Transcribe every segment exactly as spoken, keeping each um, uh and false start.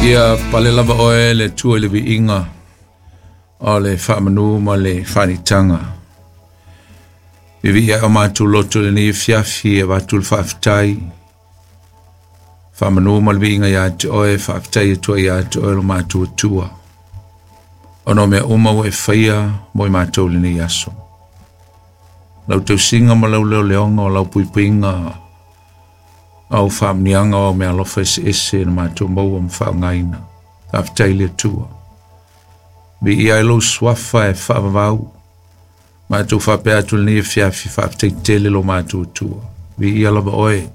Ia pale lava oe le Atua i le viiga o le faamanu ma le faanitaga. Viivii ae o matou loto i lenei afiafi e avatu le faafetai. Faamanu ma le viiga ia te oe, faafetai atu ai ia te oe lo matou Atua, ona o mea uma ua e faia mo i matou i lenei aso. Lau tausiga ma lau leoleoga o lau puipuiga, au faamuniaga o au meaalofa eseese na matou maua ma faaaogaina. Faafetai i le Atua. Viia ai lou suafa e faavavau. Matou faapea atu i lenei afiafi, faafetai tele lo matou Atua. Viia lava oe,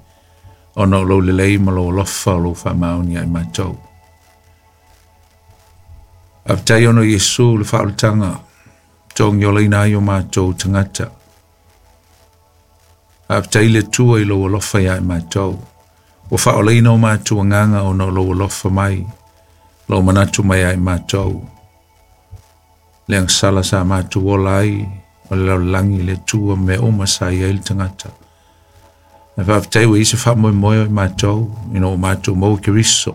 ona o lou lelei ma lou alofa o lou faamaoni ai matou. Faafetai ona o Iesu le faaolataga, togiolaina ai o matou tagata. Faafetai le Atua i lou alofa ia i matou. Ua faaolaina o matou agaga ona o lou alofa mai, lou manatu mai ia i matou. Le agasala sa matou ola ai, o le lalolagi le Atua mea uma sa i ai le tagata. Ae faafetai ua i ai se faamoemoe o i matou, ina ua matou maua Keriso.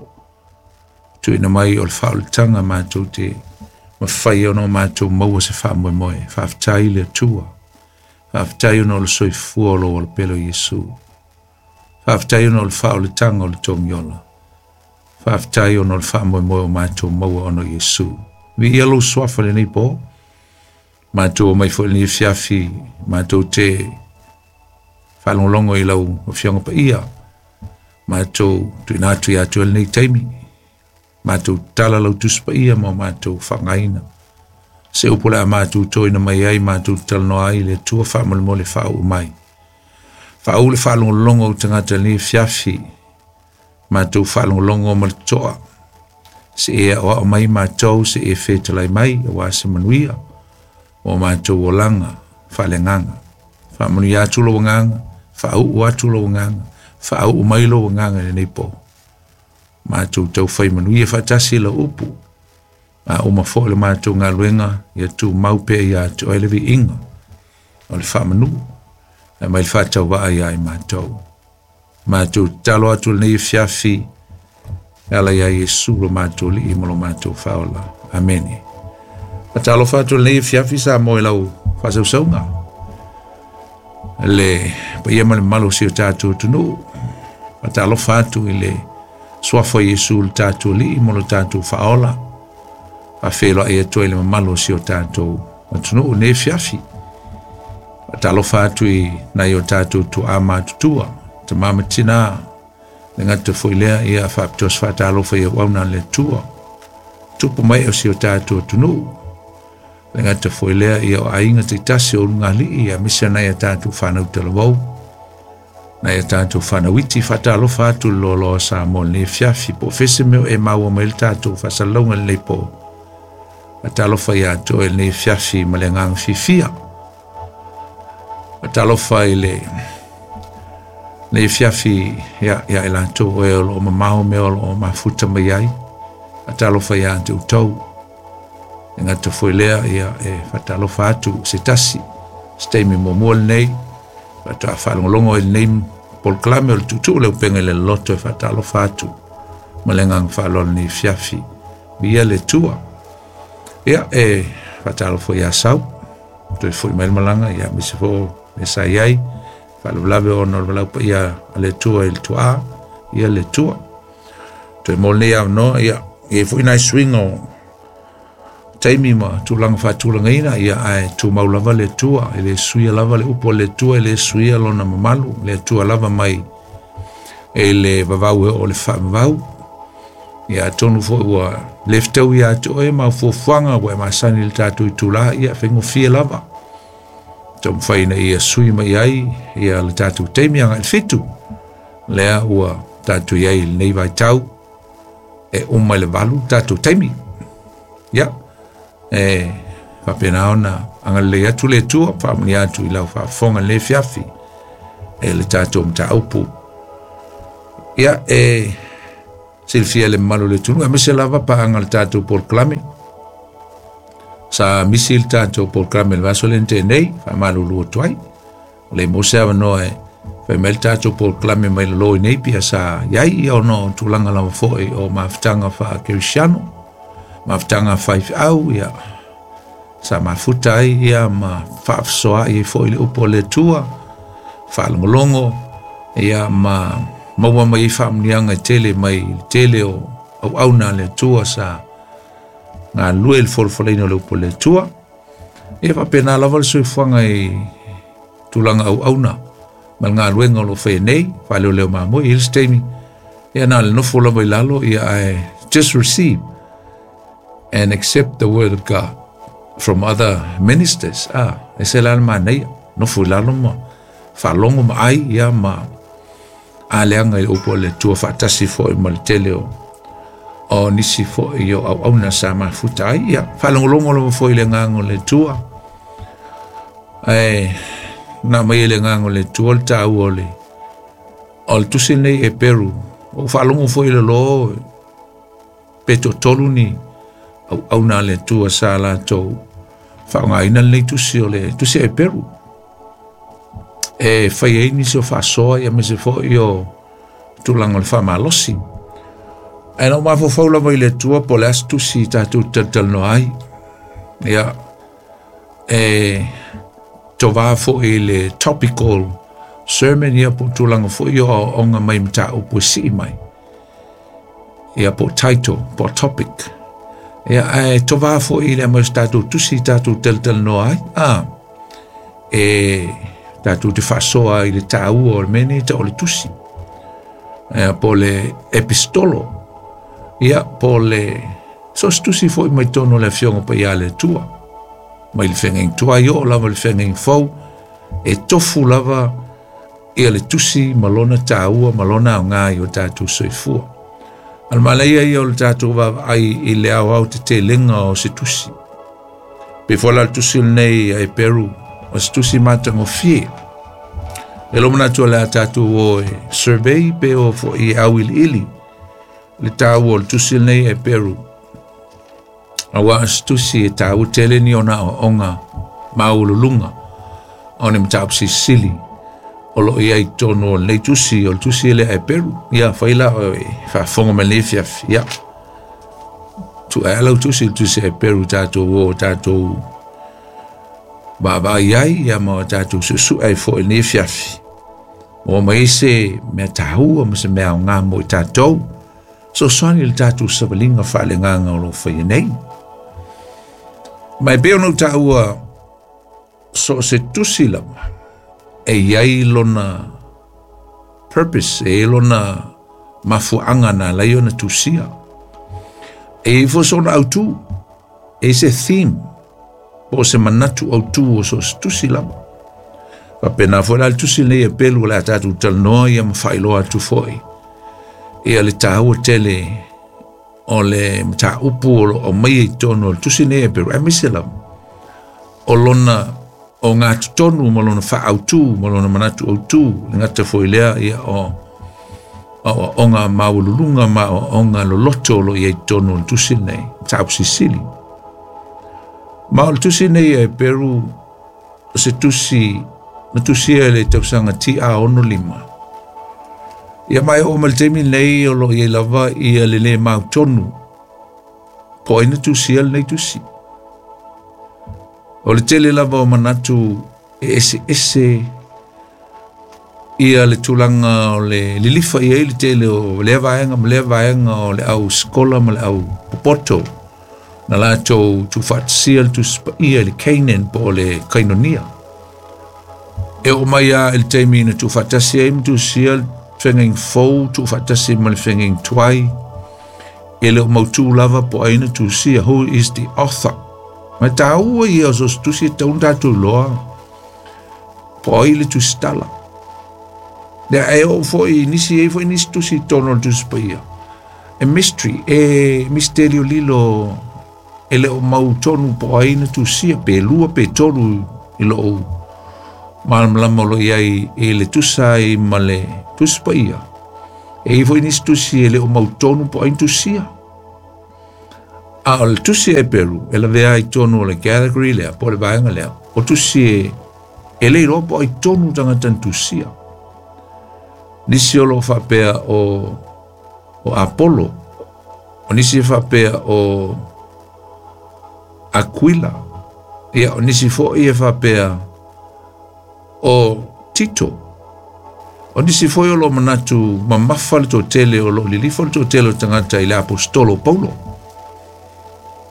Tuuina mai o le faaolataga matou te mafai ona o matou maua se faamoemoe. Faafetai le Atua. Faafetai ona o le soifua o lou alopele o Iesu. Faafetai ona o le faaolataga o le togiola. Faafetai ona o le faamoemoe o matou maua ona o Iesu. Viia lou suafa i lenei po. Matou omai foi i lenei afiafi, matou te faalogologo i lau Afioga Paia. Matou tuuina atu ia te oe lenei taimi. Matou tala lau Tusi Paia ma o matou faaaogaina. Se upu o le a matou toina mai ai, matou talanoa ai le Atua faamolemole faauu mai. Faauu le faalogologo o tagata i lenei afiafi. Matou faalogologo ma le toa. Se e aoao mai matou, se e fetalai mai, aua se manuia o matou olaga faaleagaga. Faamanuia atu lou agaga, faauu atu lou agaga, faauu mai lou agaga i lenei po. Matou taufai manuia faatasi lau upu. A uma foi le matou galuega, ia tumau pea ia te oe le viiga o le faamanu, e mai le faatauvaa ia i matou. Matou tatalo atu i lenei afiafi, e ala ia Iesu lo matou Alii ma lo matou Faaola. Amene. Faatalofa atu i lenei afiafi sa mo i lau faasausauga. Le paia ma le mamalu o si o tatou atunuu. Faatalofa atu i le suafa o Iesu le tatou Alii ma lo tatou Faaola. Faafeiloai atu ai le mamalu o si o tatou atunuu i lenei afiafi. Faatalofa atu i nai o tatou tuaa matutua, tama ma tina, le gata foi lea, ia faapitoa se faatalofa i auauna a le Atua. Tupu mai o si o tatou atunuu. Le gata foi lea, ia o aiga taitasi o ulugalii, ia aemaise nai a tatou fanau talavou, nai a tatou fanauiti. Faatalofa atu le loaloa Samoa i lenei afiafi, po o fese mea o e maua mai le tatou faasalalauga i lenei po. Faatalofa ia te oe i lenei afiafi ma le agaga fiafia. Faatalofa i le lenei afiafi ia ia i latou oe o loo mamao mea o loo mafuta mai ai. Faatalofa ia te outou. E gata foi lea, ia e faatalofa atu se tasi, se taimi muamua lenei, faatoa faalogologo i lenei polokalame o le Tuutuu le Upega i le Loloto, e faatalofa atu ma le agaga faaaloalo lenei afiafi. Viia le Atua. Ia e faatalofa ia Sau, toe foi mai le malaga, ia aemaise foi o mea sa i ai, faalavelave ona o le valaau paia a le Atua i le tuaa, ia le Atua. Toe mo lenei avanoa, ia i ai foi nai suiga o taimi ma tulaga faatulagaina, ia ae tumau lava le Atua, e le suia lava le upu a le Atua, e le suia lona mamalu, le Atua lava mai e le vavau e oo le faavavau. Ia atonu foi ua le fetau ia te oe ma fuafuaga ua e masani i le tatou itula, ia faigofie lava taumafai ina ia sui mai ai ia le tatou taimi agai i le fitu. Lea ua tatou i ai i lenei vaitau, e uma i le valu tatou taimi. Ia, e faapena ona agalelei atu le Atua, faamanuia atu i lau faafofoga i lenei afiafi e le tatou mataupu. Ia, e silafia le mamalu o le atunuu, aemaise lava paaga o le tatou polokalame. Sa misi le tatou polokalame i le vaiaso lea na tea nei, faamalulu atu ai. O le maua se avanoa e Fai mai le tatou polokalame mai lalo i nei pia sa iai ia ona o tulaga lava fo'i o mafutaga faakerisiano, mafutaga faifeau ia sa mafuta ai ia ma faafasoa'i ai fo'i le upu a le Atua, faalogologo ia ma maua mai ai faamuniaga e tele mai le tele o auauna a le Atua sa galulue i le folafolaina o le upu a le Atua. Ia faapena lava le soifuaga i tulaga auauna ma le galuega o lo o faia nei, faaleoleo mamoe i le isi taimi, ia na o le nofo lava i lalo, ia ae just receive and accept the word of God from other ministers. Ah, e se la le manaia, nofo i lalo ma faalogo ma ai, ia ma aleaga i le upu a le Atua faatasi fo'i ma le tele o o nisi fo'i o auauna sa mafuta ai, ia faalogologo lava fo'i i le agaga o le Atua. Ae na mai e le agaga o le Atua le taua o le o le tusi lenei e Peru. O faalogo fo'i le lo pe toatolu ni auauna a le Atua sa latou faaaogaina lenei tusi o le tusi e Peru e fai ai nisi o faasoa ia aemaise fo'i o tulaga o le faamalosi. Ae na ou mafaufau lava i le Atua po o le a se tusi tatou te talatalanoa ai. Ia e tovā fo'i i le topical sermon ia po o tulaga fo'i o aoaoga mai mataupu e sii mai. Ia po o title, po o topic. Ia ae tovā fo'i i le aumai o se tatou tusi tatou talatalanoa ai. Ah, e tatou te faasoa ai i le taua o le mea lenei tau o le tusi. Ia po o le epistolo. Ia po o le so se tusi fo'i mai totonu o le Afioga Paia a le Atua. Mai le feagaiga tuai oo lava i le feagaiga fou, e tofu lava ia le tusi ma lona taua ma lona aoga i o tatou soifua. A o le manaia ia o le tatou vaavaai i le aoaotetelega o se tusi. Pei foi la le tusi lenei a Eperu, o se tusi matagofie. E lo manatu o le a tatou o e survey pe o fo'i e auiliili le taua o le tusi lenei a Eperu. Auā o se tusi e taua tele ni ona aoaoga maualuluga o ni mataupu silisili o lo o i ai i totonu o lenei tusi o le tusi lea a Eperu. Ia fai la o e faafofoga mai lenei afiafi. Ia tuu ae lau tusi le tusi a Eperu tatou o tatou vaavaai ai ia ma tatou suesue ai fo'i i lenei afiafi. Maua mai ai se mea taua ma se mea aoga mo i tatou. Fesoasoani i le tatou savaliga faaleagaga o lo o faia nei. Ma e pei ona ou taua so o se tusi lava e i ai lona purpose, e i ai lona mafuaaga na ala ai ona tusia. E i ai foi sona autū, e i ai se theme, po o se manatu autū o so o se tusi lava. Faapena foi la le tusi lenei e Pelu o le a tatou talanoa ia ma faailoa atu fo'i ia le taua tele o le mataupu o lo o aumaia i totonu o le tusi lenei e Peru, aemaise lava o lona ogatotonu ma lona faaautū ma lona manatu autū, le gata foi lea ia o aoaoga maualuluga ma aoaoga loloto o lo o i ai i totonu o le tusi lenei, mataupu silisili. Ma o le tusi lenei a Eperu o se tusi na tusia i le tausaga T A ono lima. Ia ma e oo mai le taimi lenei o lo o i ai lava ia le lē mautonu po o ai na tusia lenei tusi. O le tele lava o manatu e eseese ia le tulaga o le lilifa i ai le tele o lea vaega ma lea vaega o le au sikola ma le au popoto na latou tuufaatasia le tusi paia i le Canaan po o le Kainonia. E oo mai lava i le taimi na tuufaatasi ai ma tusia le feagaiga fou, tuufaatasi ma le feagaiga tuai, e le o mautū lava po o ai na tusia, who is the author. Ma e taua ia o so o se tusi e tatau ona tatou iloa po o ai le tusitala. Lea e oo fo'i nisi, e i ai fo'i nisi tusi i totonu o le tusi paia. E mystery, e misterio lilo e le o mautonu po o ai na tusia, pe lua pe tolu i lou malamalama o lo o i ai i le tusa ai ma le tusi paia. E i ai fo'i nisi tusi e le o mautonu po o ai na tusia. A o le tusi a Eperu e lavea ai i totonu o le category lea, po o le vaega lea, o tusi e, e le iloa po o ai tonu tagata na tusia. Nisi o loo faapea o o Apollo. O nisi e faapea o Aquila. Ia o nisi foi e faapea o Tito. O nisi foi o loo manatu mamafa le toatele o loo lilifa le toatele o tagata i le apostolo Paulo.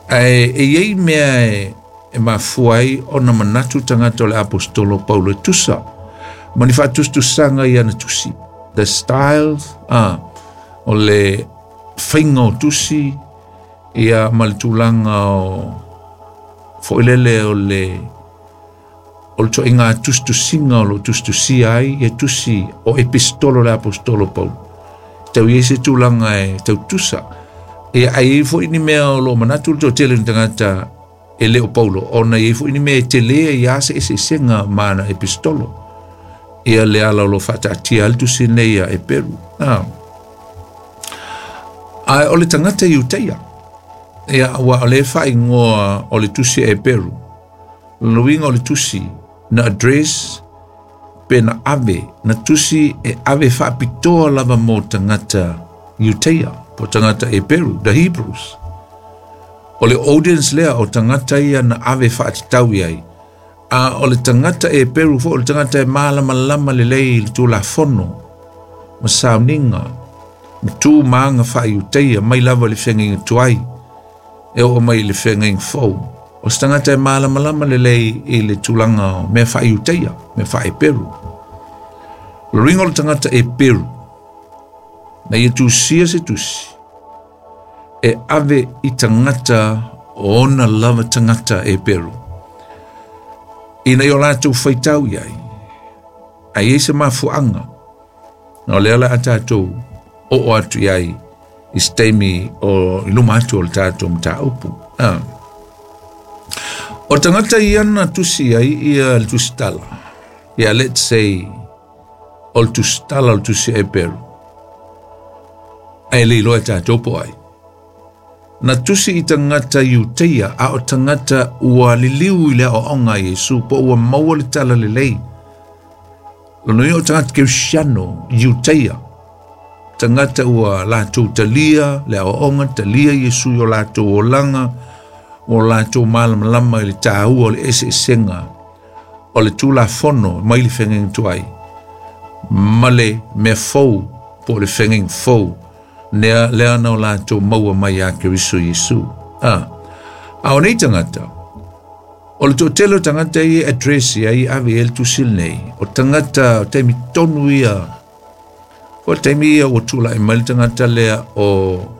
Ae e iai mea e e mafua ai ona manatu tagata o le apostolo Paulo e tusa ma ni faatusatusaga i ana tusi. The style, ah, o le faiga o tusi ia ma le tulaga o foilele o le o le toaiga tusitusiga o loo tusitusia ai ia tusi o epistolo le apostolo Paulo. Tau iai se tulaga e tautusa. Ia ai foi ni mea o loo manatu le toatele o tagata e le o Paulo ona iai foi ni mea e tele ia se eseesega ma ana epistolo. Ia le ala o loo faataatia ai le tusi nei ia Eperu. Ah. Ae o le tagata Iutaia. Ia ua o le faaigoa o le tusi a Eperu. Lona uiga o le tusi na address pe na ave na tusi e ave faapitoa lava mo tagata Iutaia po tagata Eperu, the Hebrews. O le audience lea o tagata ia na ave faatatau i ai. A o le tagata Eperu foi o le tagata e malamalama lelei i le tulafono ma sauniga ma tu ma aga faaiutaia mai lava i le feagaiga tuai e oo mai i le feagaiga fou. O se tagata e malamalama lelei i le tulaga o mea faaiutaia, mea faaeperu. O le uiga o le tagata Eperu na ia tusia se tusi e ave i tagata o ona lava tagata Eperu ina ia o latou faitau i ai ae iai se mafuaaga na o lea la a tatou oo atu i ai i se taimi o i luma atu o le tatou mataupu. Ah. O tagata ia na tusi ai ia le tusitala. Ia let's say o le tusitala o le tusi Eperu. Ae le iloa e tatou po ai. Na tusi i tagata Iutaia a o tagata ua liliu i le aoaoga a Iesu po ua maua le tala lelei. Lona uiga o tagata Kerisiano Iutaia. Tagata ua latou talia le aoaoga, talia Iesu i o latou olaga, o latou malamalama i le tāua o le eseesega o le tulafono mai le feagaiga tuai ma le mea fou po o le feagaiga fou lea, lea na o latou maua mai ia Keriso Iesu. Ah. A o nei tagata, o le toatele o tagata ia e address i ai ave i ai le tusi lenei, o tagata o taimi tonu ia, o le taimi ia ua tulai mai le tagata lea o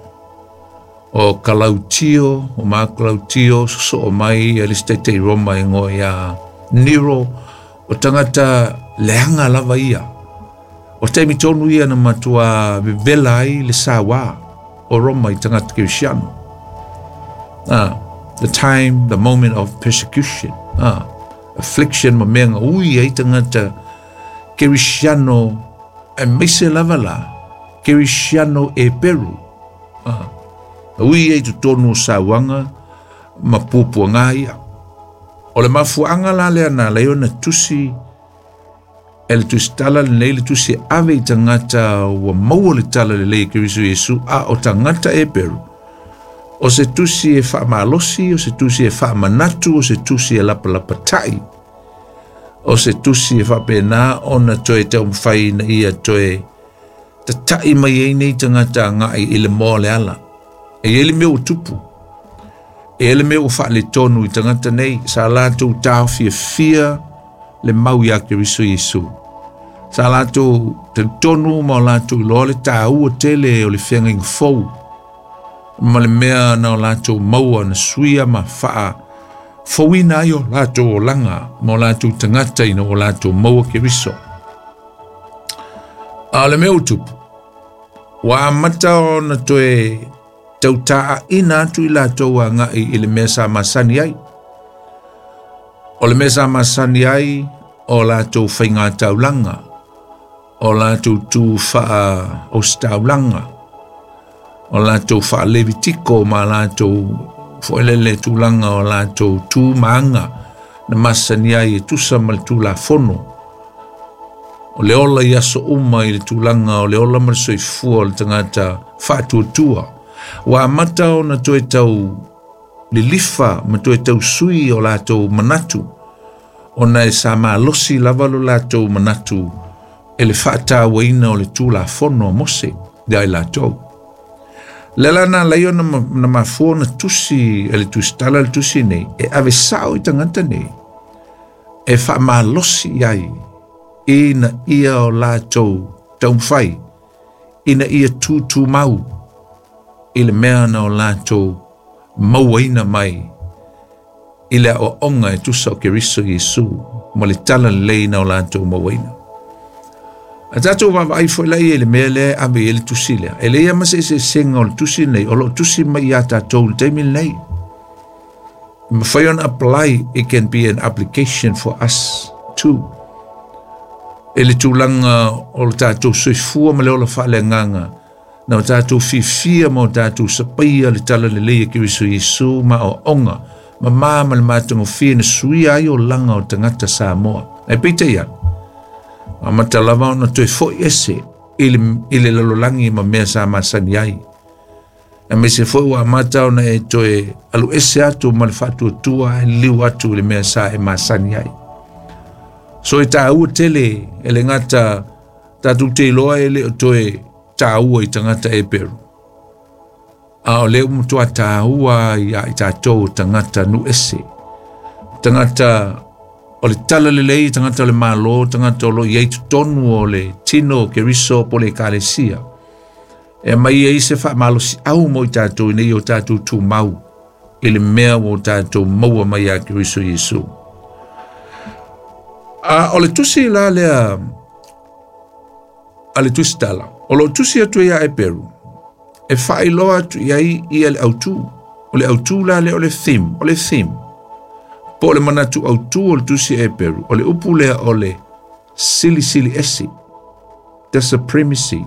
o Kalautio, o ma Kalautio, sosoo mai ia le isi taitai Roma e igoa ia Nero, o tagata leaga lava ia. O taimi tonu ia na matua vevela ai le sauā o Roma i tagata Kerisiano. Ah, the time, the moment of persecution, ah, affliction ma mea gaui ai tagata Kerisiano aemaise lava la Kerisiano Eperu. Ah, ui ai totonu o sauaga ma puapuaga ia. O le mafuaaga la lea na ala ai ona tusi e le tusitala lenei le tusi e ave i tagata ua maua le tala lelei e Keriso Iesu a o tagata Eperu. O se tusi e faamalosi, o se tusi e faamanatu, o se tusi e lapalapatai. O se tusi e faapena ona toe taumafai ina ia toe tata'i mai ai nei tagata agai i le moa o le ala. E iai le mea ua tupu. E iai le mea ua faaletonu i tagata nei sa latou taofiafia le mau iā Keriso Iesu. Sa latou talitonu ma o latou iloa le tāua tele o le feagaiga fou ma le mea na o latou maua na suia ma faa fouina ai o latou olaga ma o latou tagata ina ua latou maua Keriso. A o le mea ua tupu, ua amata ona toe tautaaina atu i latou agai i le mea sa masani ai. O le mea sa masani ai o latou faiga taulaga, o latou tu faa ositaulaga, o latou faalevitiko ma latou foelele tulaga o latou tu ma aga na masani ai e tusa ma le tulafono O le ola i aso uma i le tulaga o le ola ma le soifua o le tagata faatuatua. Ua amata ona toe tau lilifa ma toe tau sui o latou manatu, ona e sa malosi lava lo latou manatu e le faatauaina o le Tulafono a Mose ia i latou. Le la na lai ona na mafua na tusi e le tusitala le tusi nei, e ave sao i tagata nei, e faamalosi ai ina ia o latou taumafai, ina ia tutumau i le mea na o latou mauaina mai i le aoaoga e tusa o Keriso Iesu ma le tala lelei na o latou mauaina. A tatou vaavaai foi la ia i le mea lea ave i le tusi lea. E leai ma se eseesega o le tusi nei, o loo tusi mai ia tatou le taimi lenei. Mafai ona apply, it can be an application for us too. E le tulaga o le tatou soifua ma le ola faaleagaga, na o tatou fifia ma o tatou sapaia le tala lelei e Keriso Iesu ma aoaoga, ma ma ma le matagofie na suia ai olaga o tagata Samoa. Ae peitai ane, amata lava ona toe foi ese i le, i le lalolagi ma mea sa masani ai. Aemaise foi ua amata ona e toe alu ese atu ma le faatuatua e liu atu i le mea sa e masani ai. So e tāua tele e le gata tatou te iloa e le o toe tāua i tagata Eperu. A o le ua matua tāua ia i tatou tagata nu ese. Tagata o le tala lelei, tagata o le malo, tagata o lo i ai totonu o le tino o Keriso po le ekalesia. E mai ai se faamalosi au mo i tatou ina ia o tatou tumau i le mea ua o tatou maua mai ia Keriso Iesu. A o le tusi la lea a le tusi tala, o lo tusi atu ia Eperu, e faailoa atu i ai ia le autū. O le autū la lea o le theme, o le theme. Po o le manatu autū o le tusi Eperu, o le upu lea o le silisili ese, the supremacy.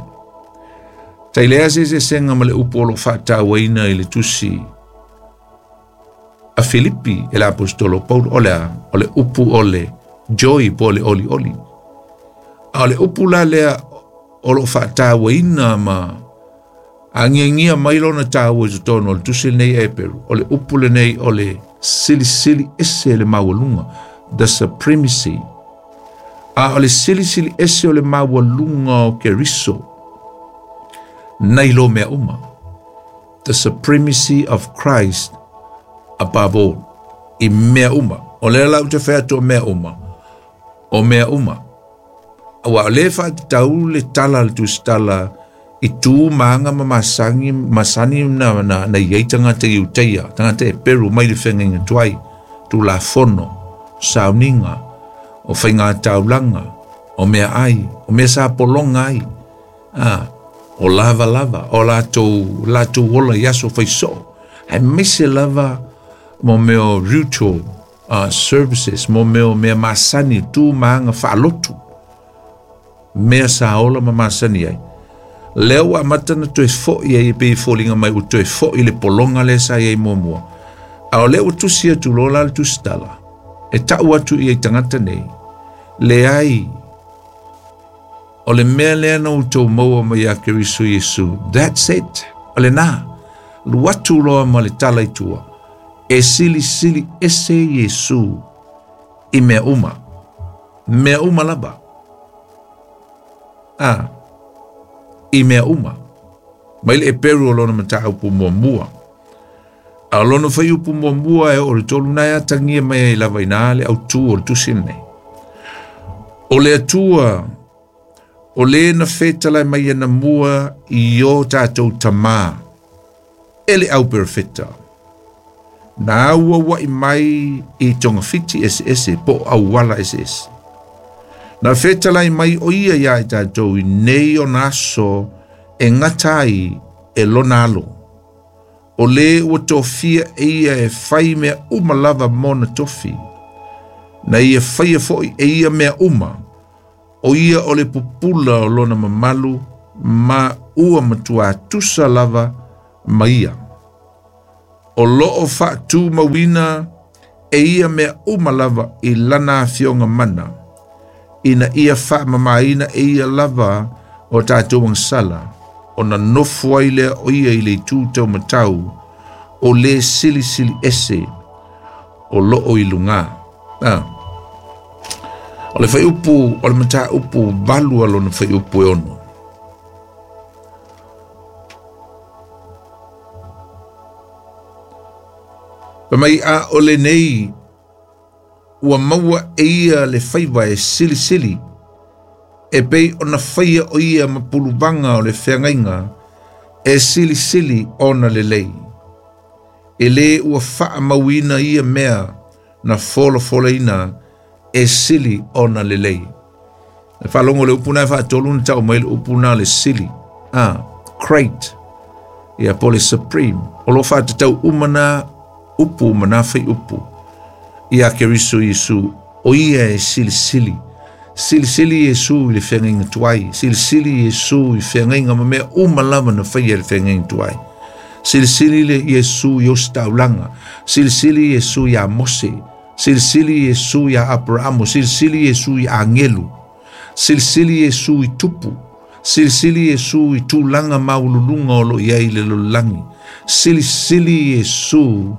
Tai lea se eseesega ma le upu o lo faatauaina i le tusi a Filipi e le apostolo Paulo, o le a, o le upu o le joy po o le oli oli. A o le upu la lea o lo faatauaina ma agiagia mai lona taua i totonu o le tusi lenei Eperu, o le upu lenei o le silisili ese le maualuga, the supremacy. A o le silisili ese o le maualuga o Keriso nai lo mea uma, the supremacy of Christ above all, i mea uma. O lea la ou te fai atu o mea uma, o mea uma. Ua o le faatatau le tala le tusitala i tu maga ma masani, masani na, na, na i ai tagata Iutaia, tagata Eperu mai le fegaiga tuai, tulafono, sauniga, o faiga taulaga, o mea ai, o mea sa pologa ai, ah, o lava lava, o latou, latou ola i aso faisoo. Aemaise lava mo mea o ritual uh, services, mo mea o mea masani, tu maga faalotu, mea sa ola ma masani ai. Lea ua amata na toe foi ai e pei foliga mai ua toe foi le pologa lea sa i ai muamua. A o lea ua tusi atu loa la le tusitala, e tau atu i ai tagata nei, leai, o le mea lea na outou maua mai ia Keriso Iesu, that's it, o lena, alu atu loa ma le tala i tua, e silisili ese Iesu i mea uma, mea uma lava. Ah, i mea uma. Mai le Eperu o lona mataupu muamua. A o lona fuaiupu muamua e oo i le tolu na e atagia mai ai lava ina le autū o le tusi lenei. O le Atua, o le na fetalai mai anamua i o tatou tamā, e le au perofeta. Na auauai mai i togafiti eseese po o auala eseese. Na fetalai mai o ia ia i tatou i nei ona aso e gata ai e lona alo. O le ua tofia e ia e fai mea uma lava mona tofi. Na ia faia foi e ia mea uma. O ia o le pupula o lona mamalu ma ua matua tusa lava ma ia. O loo faatumauina e ia mea uma lava i lana afioga mana. Ina ia faamamaina e ia lava o tatou agasala, ona nofo ai lea o ia i le itu taumatau o le silisili ese o loo i luga. Ah. O le whaiupu, o le mataupu valu a lona whaiupu e ono. Pa mai a o le nei, ua maua e ia le faiva e silisili, e pei ona whaia o ia mapuluvanga o le wheangaiga, e silisili ona lelei. E le ua whaamauina ia mea na folafoleina e sili ona lelei. E whalongo le upuna e whaatolu na tau mai le upuna le sili. Ah, great. Ia po le supreme. O lo whaatatau umana upu mana whai upu. Ia Keriso Yesu, o ia e silisili. Silisili Yesu i le whengainga tuai. Silisili Yesu i whengainga ma mea umalama na whaia le whengainga tuai. Silisili le Yesu i ostaulanga. Silisili Yesu i a Mose. Silisili Yesu i a Abrahamo. Silisili Yesu i a Angelu. Silisili Yesu i tupu. Silisili Yesu i tūlanga maululunga o lo iai le lololangi. Silisili Yesu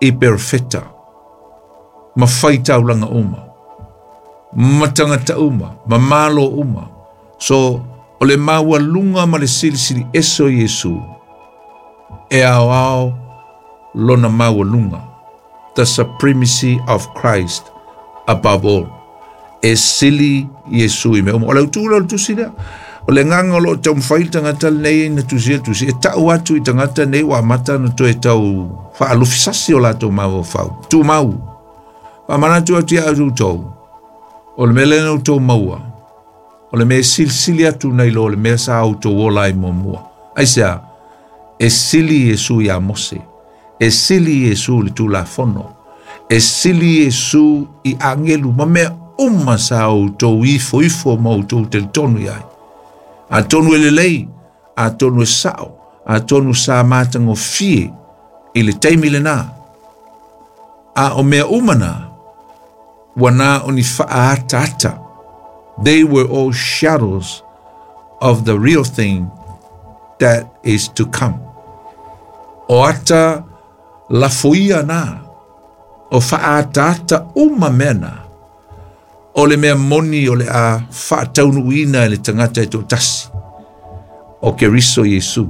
i perfeta. Ma whai taulanga uma. Matangata uma. Mamalo uma. So, o le maualunga ma le silisili eso Yesu. E ao ao lona maualunga. The supremacy of Christ above all. E sili Yesu i mea uma. O le utu le tusi lea. O le nganga o lo tau mwhai tangata nei na tusi e tusi. E tau atu i tangata nei wa mata na toe tau whaalufisasi o latou mau o whau. Tu mau. Wa manatu atu ia atu tau. O le mele na tau maua. O le mea silisili atu nei lo o le mea sa au tau ola i mua. Aisea, e sili Yesu ia Mose. E sili Yesu le tulafono. E sili Yesu i angelu. Ma mea uma sa au tau ifo ifo ma au tau telitonu iai. A tonu e lelei, a tonu e sao, a tonu sa mātango fie i le taimi le nā. A o mea uma nā, ua nā o ni whaata ata. They were all shadows of the real thing that is to come. O ata lafoia nā, o whaata ata uma mea nā. O le mea moni o le a whaataunuina e le tangata e tō tasi. O Keriso Yesu.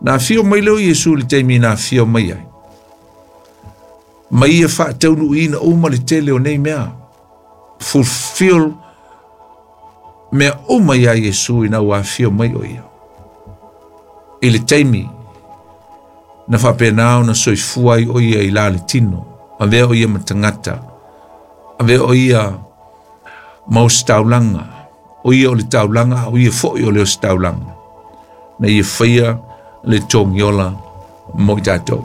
Nā whio mai leo Yesu le teimi nā whio mai ai. Mai ia whaataunuina uma le tele o nei mea. Fulfill mea uma ia Yesu i nā wā whio mai o ia. I le teimi na whapenao na soifua i o ia i la le tino. A vea o ia matangata. A vea o ia maustaulanga. O ia o le taulanga, o ia foi o le ostaulanga. Na ia whaia le tongiola mo i tātou.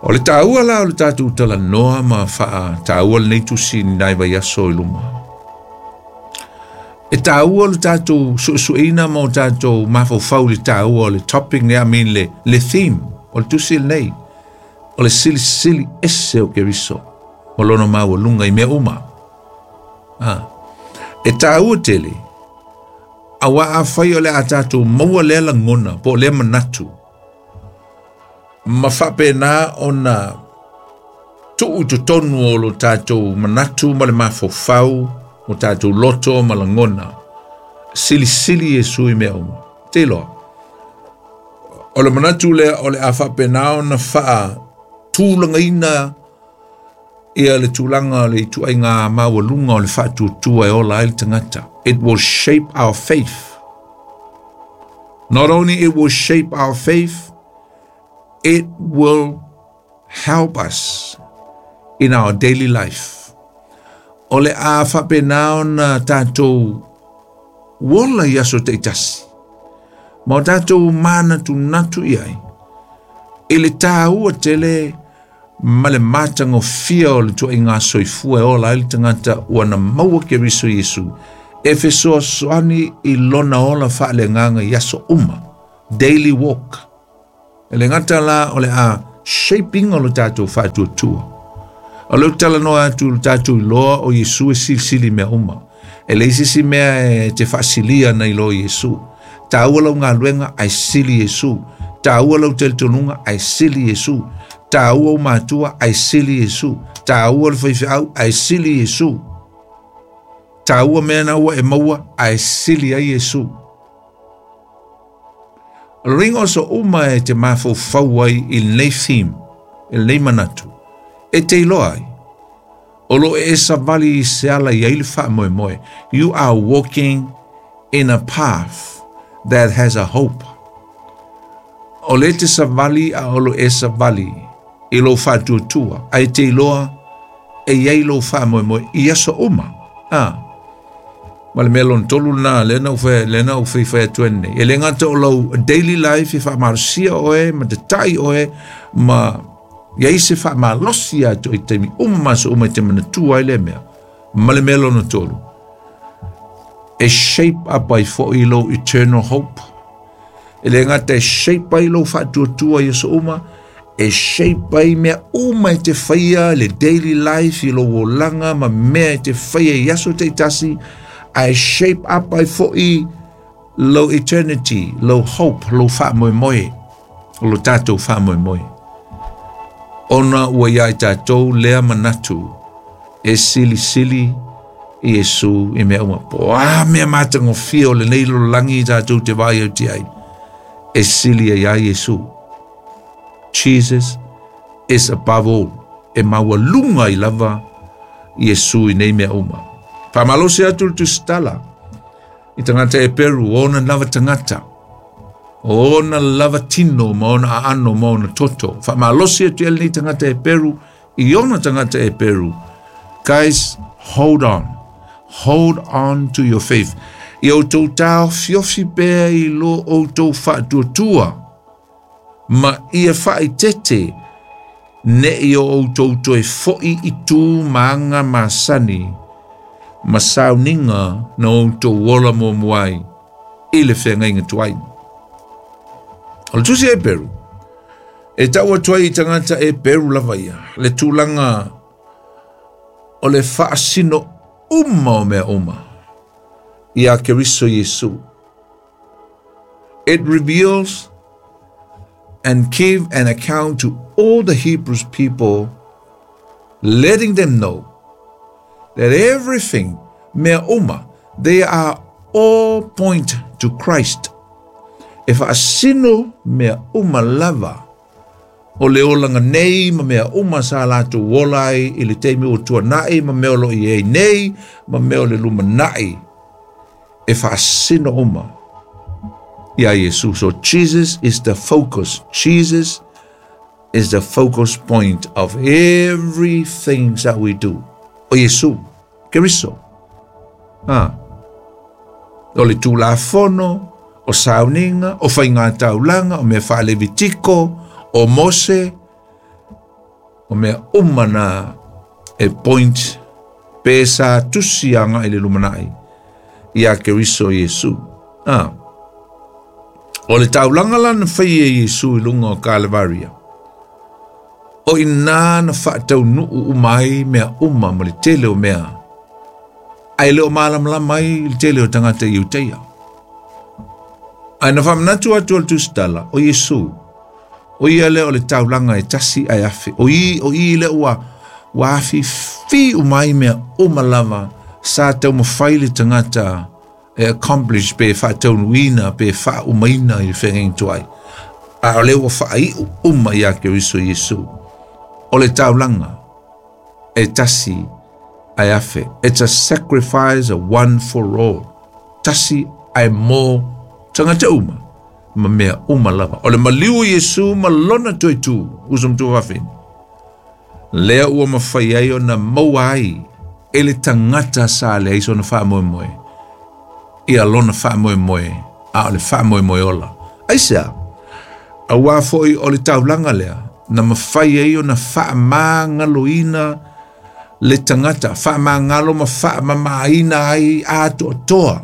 O le tāua la o le tātou tala noa ma whaa tāua le nei tusi ni nai vai aso i luma. E tāua le tātou suesueina ma o tātou mawhaufau le tāua o le topic ne, I mean le, le theme o le tusi le nei. O le silisili ese o Keriso. O lono maua lunga i mea uma. Ah. E tāua tele, a wā a whai o le a tātou maua lea langona, po lea manatu. Ma whapena o na tuu totonu o lo tātou manatu ma le mawhaufau, o tātou loto ma langona. Silisili Yesu i mea uma. Te loa. O le manatu lea o le a whapena o na whaa tūlangaina ia le tūlanga le itu ai ngā maualunga o le whaatuatua e ola ai le tangata. It will shape our faith. Not only it will shape our faith, it will help us in our daily life. O le a whapenao na tātou wola i aso te itasi. Ma o tātou mana tu natu iai. I le tāua tele ma le mātango fia o le tua i ngā soifua e ola ai le tangata ua na maua Keriso Yesu. E fesoa soani i lona ola whaale nganga i aso uma. Daily walk. E le ngata la o le a shaping o le tātou whaatuatua. O le utala noa atu le tātou i loa o Yesu e silisili mea uma. E leai se isi mea e te faasilia nai lo Iesu. Taua lau galuega ae sili Iesu. Taua lau talitonuga ae sili Iesu. Taua ou matua ae sili Iesu. Taua le faifeau ae sili Iesu. Taua mea na ua e maua ae sili ai Iesu. O le ringa o so uma e te mafaufau ai i lenei theme, i lenei manatu, e te iloa ai. O lo e savali i se ala i ai le faamoemoe. You are walking in a path that has a hope. O le te savali a o lo e savali i lou faatuatua, ae te iloa e iai lou faamoemoe i aso uma. Ah. Ma le mea lona tolu lena, lea na ou fai, lea na ou faifai atu ai nei. E le gata o lau daily life e faamalosia oe, ma tatai oe, ma iai se faamalosi atu i taimi uma ma aso uma e te manatua ai lea mea. Ma le mea lona tolu, e shape up ai foʻi lou eternal hope. E le gata e shape ai lou faatuatua i aso uma, e shape ai mea uma e te faia le daily life i lou olaga ma mea e te faia i aso taitasi, ae shape up ai foʻi lou eternity, lou hope, lou faamoemoe, o lo tatou faamoemoe. Ona ua iā i tatou lea manatu e silisili i Iesu i mea uma. Po o a mea matagofie o lenei lalolagi i tatou te vaai atu ai, e sili ai ia Iesu. Jesus is above all. E maualuga ai lava Iesu i nei mea uma. Faamalosi atu le tusitala i tagata Eperu, o ona lava tagata, o ona lava tino ma ona aano ma ona toto. Faamalosi atu i lenei tagata Eperu, i ona tagata Eperu. Guys, hold on. Hold on to your faith. Ia outou taofiofi pea i lo outou faatuatua, ma ia faaeteete ne i o outou toe foʻi i tu ma aga masani, ma sauniga na outou ola muamua ai i le feagaiga tuai. O le tusi Eperu, e tau atu ai i tagata Eperu lava ia, le tulaga o le faasino uma o mea uma ia Keriso Iesu. It reveals and give an account to all the Hebrews people, letting them know that everything, mea uma, they are all point to Christ. E faasino mea uma lava o le olaga nei ma mea uma sa latou ola ai i le taimi ua tuanaʻi ma mea o loo i ai nei ma mea o le lumanai, e faasino uma ia Iesu. So Jesus is the focus. Jesus is the focus point of everything that we do. O Iesu, Keriso. Ah. O le Tulafono, o sauniga, o faigataulaga, o mea faalevitiko, o Mose, o mea uma na e point pe sa tusi aga i le lumanai ia Keriso Iesu. Ah. O le taulaga la na faia e Iesu i luga o Kalevaria, o ina na faataunuu uma ai mea uma ma le tele o mea, ae le o malamalama ai le tele o tagata Iutaia. Ae na faamanatu atu o le tusitala, o Iesu, o ia lea o le taulaga e tasi ae afe. O i, o i lea ua, ua afifi uma ai mea uma lava sa taumafai le tagata e accomplish pe faataunuuina pe faaumaina i le feagaiga tuai. A o lea ua faaiu uma ia Keriso Iesu. O le taulaga e tasi ae afe. It's a sacrifice, a one for all. Tasi ae mo tagata uma ma mea uma lava. O le maliu o Iesu ma lona toe tu, uso ma tuafafine, lea ua mafai ai ona maua ai e le tagata sa leai sona faamoemoe ia lona faamoemoe, a o le faamoemoe ola. Aisea? Auā foʻi o le taulaga lea na mafai ai ona faamagaloina le tagata, faamagalo ma faamamaina ai atoatoa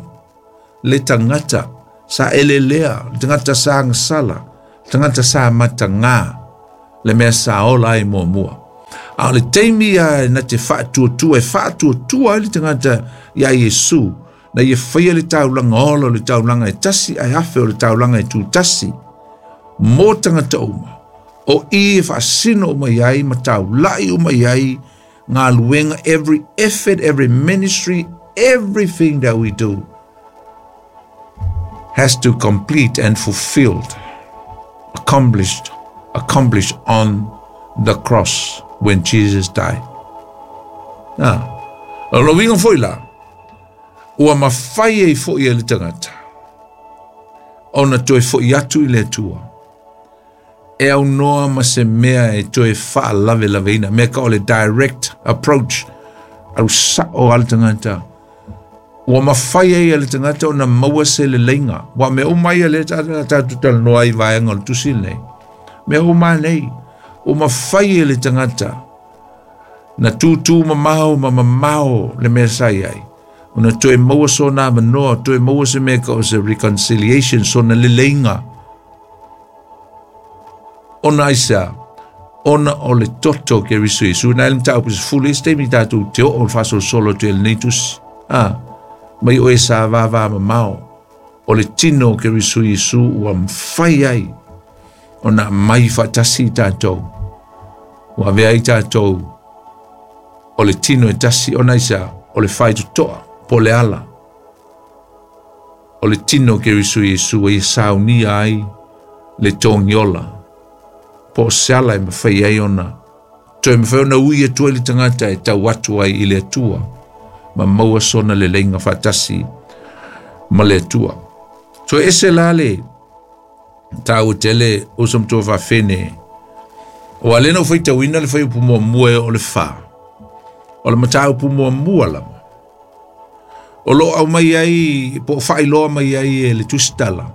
le tagata sa elelea, le tagata sa agasala, le tagata sa matagā, le mea sa ola ai muamua. A o le taimi ia na te faatuatua e faatuatua ai le tagata iā Iesu na ia faia le taulaga ola o le taulaga e tasi ae afe o le taulaga e tutasi mo tagata uma o i e faasino uma i ai ma taula'i uma i ai galuega. Every effort, every ministry, everything that we do has to complete and fulfilled, accomplished, accomplished on the cross when Jesus died. Ah, o lo uiga foi la, ua mafai ai fo'i e le tagata ona toe fo'i atu i le Atua e aunoa ma se mea e toe faalavelaveina mea ka o le direct approach au sa'o a le tagata ua mafai ai e le tagata ona maua se leleiga ua mea uma ia lea tatou talanoa ai vaega o le tusi lenei mea uma nei ua mafai e le tagata na tūtū mamao ma mamao le mea sa i ai ona toe maua sona avanoa toe maua se mea ka o se reconciliation sona leleiga ona aisea ona o le toto o Keriso Iesu na ele mataupu sefulu isi taimi tatou te oo o le faasolosolo atu ai lenei tusi a mai oe sa vavā mamao o le tino o Keriso Iesu ua mafai ai ona aumai faatasi i tatou ua avea ai tatou o le tino e tasi ona aisea o le faitotoa po o le ala o le tino o Keriso Iesu ua ia saunia ai le togiola po o se ala e mafai ai ona toe mafai ona ui atu ai le tagata e tau atu ai i le Atua ma maua sona leleiga faatasi ma le Atua. Toe ese la le taua tele uso ma tuafafine ua lea na ou faitauina le fuaiupu muamua e oo le fā o le mataupu muamua lava o loo aumai ai po o faailoa mai ai e le tusitala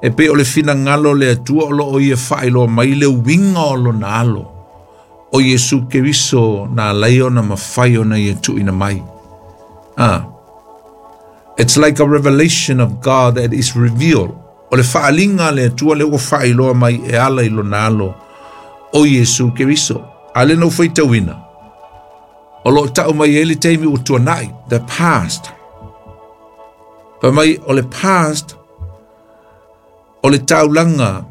e pei o le finagalo o le Atua o loo ia faailoa mai le uiga o lona alo o Iesu Keriso na alai ona mafai ona ia tuuina mai. Ah, it's like a revelation of God that is revealed. O le faaliga a le Atua lea ua faailoa mai e ala i lona alo o Iesu Keriso. A lea na ou faitauina o loo tau mai ai le taimi ua tuanai, the past. Fai mai o le past o le taulaga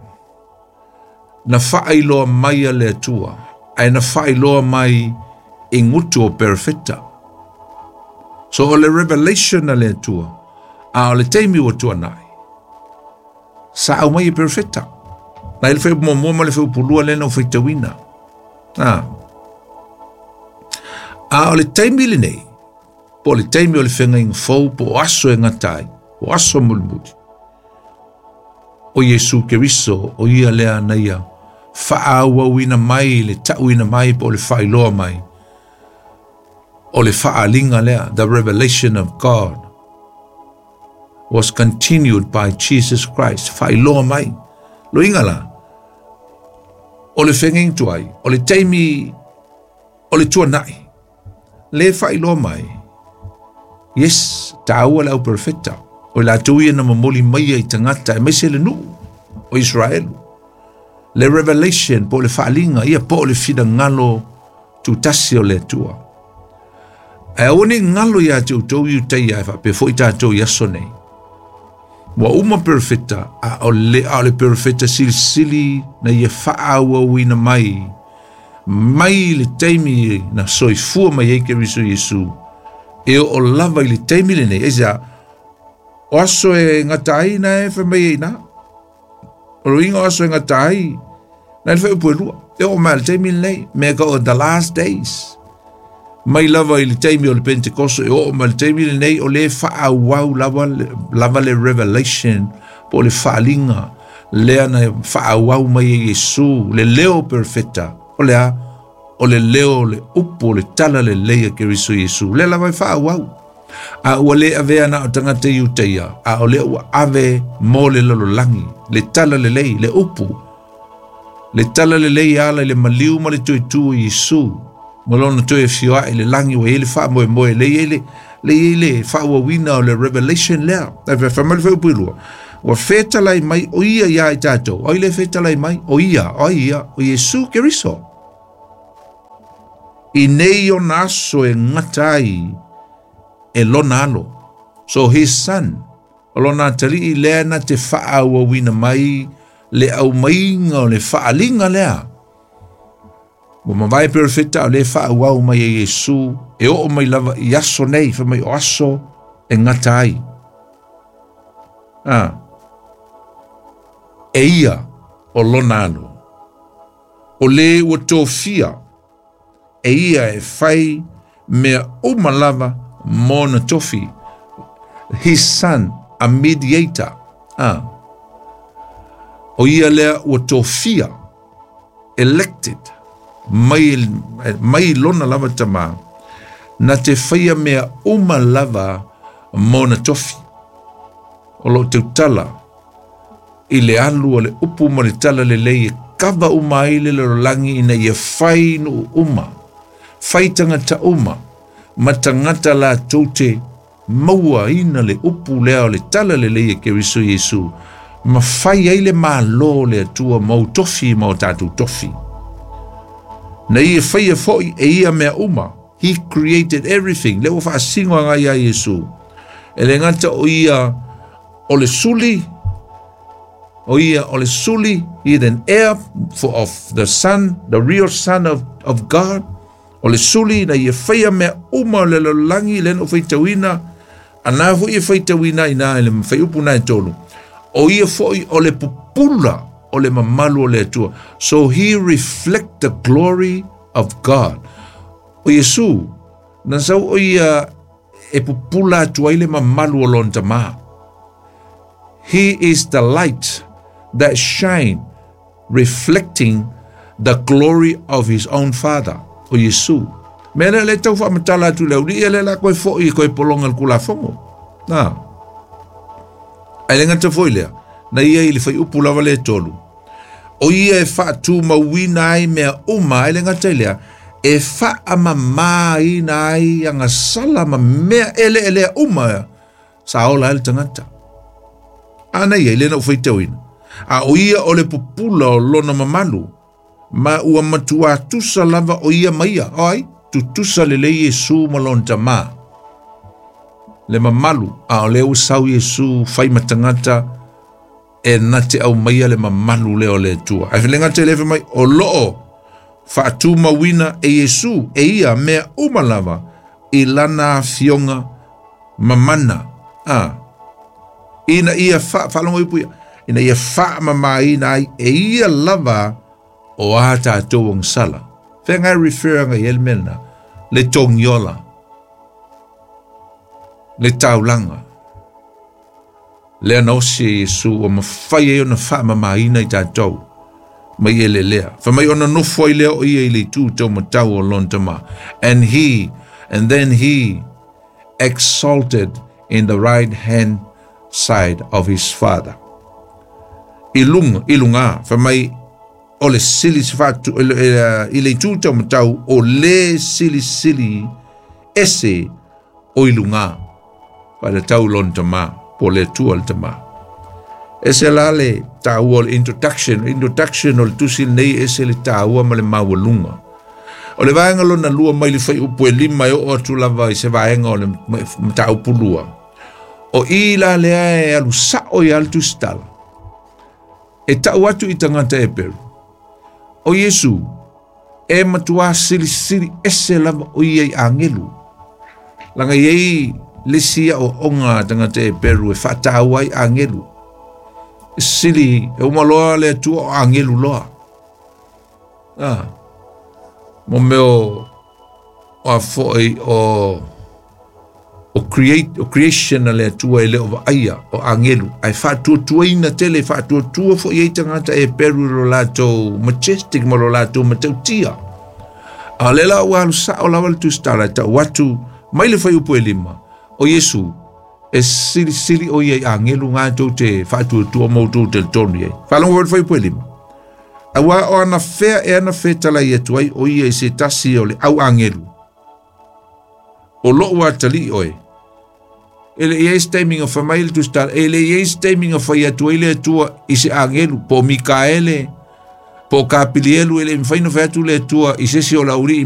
na faailoa mai a le Atua ae na faailoa mai i gutu o perofeta. So o le revelation a le Atua a o le taimi ua tuanai sa aumai e perofeta. Na i le fuaiupu muamua ma le fuaiupu lua lea na ou faitauina. Ah. A o le taimi lenei po o le taimi o le feagaiga fou po o aso e gata ai o aso mulimuli o Iesu Keriso o ia lea na ia faaauauina mai le tauina mai po o le faailoa mai o le faaliga lea. The revelation of God was continued by Jesus Christ faailoa mai loiga la o le feagaiga tuai o le taimi o le tuanai le faailoa mai. Yes, taua le au perofeta o i latou ia na momoli maia i tagata aemaise le nuu o Israelu le revelation po o le faaliga ia po o le finagalo tutasi o le Atua. Ae aua ne i galo iā te outou Iutaia e faapea foi tatou i aso nei. Ua uma perofeta a o le, a o le perofeta silisili na ia faaauauina mai mai le taimi na soifua mai ai Keriso Iesu e oo lava i le taimi lenei. Aisea o aso e gata ai na e fai mai ai na o le uiga o aso e gata ai na le fuaiupu e lua e oo mai le taimi lenei mea ka o the last days mai lava i le taimi o le Pentekoso e oo mai le taimi lenei o le faaauau lava, lava le revelation po o le faaliga lea na faaauau mai e Iesu le leo perofeta o le a o le leo o le upu o le tala lelei a Keriso Iesu lea lava e faaauau a ua le avea na o tagata Iutaia a o lea ua ave mo le lalolagi le tala lelei le upu le tala lelei ala i le maliu ma le toetū o Iesu ma lona toe afioa'i i le lagi ua i ai le faamoemoe le i ai le le i ai le faaauauina o le revelation lea. Ae fai mai le fuaiupu e lua ua fetalai mai o ia iā i tatou ai le fetalai mai o ia o ai ia o Iesu Keriso. I nei ona aso e gata ai e lona alo. So his son, o lona atalii lea na te faaauauina mai le aumaiga o le faaliga lea. Ua mavae perofeta o le faaauau mai e Iesu e oo mai lava i aso nei, fai mai o aso e gata ai. Ah. E ia o lona alo. O le ua tofia e ia e fai mea uma lava mo na tofi. His son, a mediator. Ah. O ia lea ua tofia, elected, mai, mai lona lava tamā, na te faia mea uma lava mo na tofi. O loo tautala i le alu o le upu ma le tala lelei e kava uma ai le lalolagi ina ia fai nuu uma, fai tagata uma, ma tagata latou te mauaina le upu lea o le tala lelei e Keriso Iesu, ma fai ai le Malo le Atua ma ou tofi ma o tatou tofi. Na ia faia fo'i e ia mea uma. He created everything. Le ua faasino agai ia Iesu. E le gata o ia o le suli, o ia o le suli, he is an heir for, of the son, the real son of, of God. O le suli na ia faia mea uma o le lalolagi le na o faitauina, ana fo'i e faitauina ina i le faiupu na e tolu. O ia fo'i o le pupula o le mamalu o le Atua. So he reflect the glory of God. O Iesu, na sau o ia e pupula atu ai le mamalu o lona tamā. He is the light that shine, reflecting the glory of his own father, o Iesu. Mea lea le tau faamatala atu le aulii e le la koe fo'i koe polonga le kulafogo. Na. Ai le gata foi lea, na ia i le faiupu lava le tolu. O ia e faatumauina ai mea uma ai le gata i lea, e faamamāina ai agasala ma mea eleelea uma sa ola ai le tagata. Ana ia i lena o faitauina. A o ia o le pupula o lona mamalu, ma ua matua tusa lava o ia maia, oi, tutusa lelei Iesu ma lona tamā. Le mamalu, a o le ua sau Iesu fai ma tagata e na te aumaia le mamalu lea o le Atua. Ae le gata i le mai, o loo faatumauina e Iesu e ia mea uma lava i lana afioga mamana. Ah. Ina ia fa, faalogo ipu ia, ina ia faamamaina ai e ia lava o a tatou agasala. Fea refer anga i ele mea lena, le togiola, le taulaga. Lea na osi e Iesu ua mafai ai ona faamamaina i tatou mai e le lea. Fa mai ona nofo ai lea o ia i le itu taumatau o lona tamā. And he, and then he exalted in the right hand side of his father. I luga, i luga, fa mai o le sili se faatu, i le itu taumatau o le silisili ese o i luga. Fa le tau lona tamā, po le Atua le tamā. E se la le tāua o le introduction, introduction o le tusi nei e se le tāua ma le maualuga. O le vaega lona lua mai le faiupu e lima e oo atu lava i se vaega o le mataupu lua. O i la lea e alu sao i ale tusitala. E tau atu i tagata Eperu. O Iesu, e matua silisili ese lava o ia i agelu. Laga i ai le sia o onga tagata Eperu e faataua ai agelu. Sili, e uma loa le Atua o agelu loa. Ah. Mo mea o, o a fo'i o, o, create, o creation a le Atua e le o vaaia o agelu. Ae faatuatuaina tele, faatuatua fo'i ai tagata Eperu lo latou majestic ma lo latou matautia. A o le la ua alu sao lava le tusitala e tau atu mai le faiupu e lima. O Iesu, e silisili o ia i agelu ngā tou te faatuatua ma outou telitonu i ai. Faalogo foi le faiupu e lima. Aua o ana fea e ana fetalai atu ai o ia i se tasi o le au agelu. O loo atalii oe. E le i ai se taimi na fai mai le tusitala, e le i ai se taimi na fai atu ai le Atua i se agelu, po o Mikaele, po o Kapilielu, e le mafai ona fai atu le Atua i se isi o le aulii.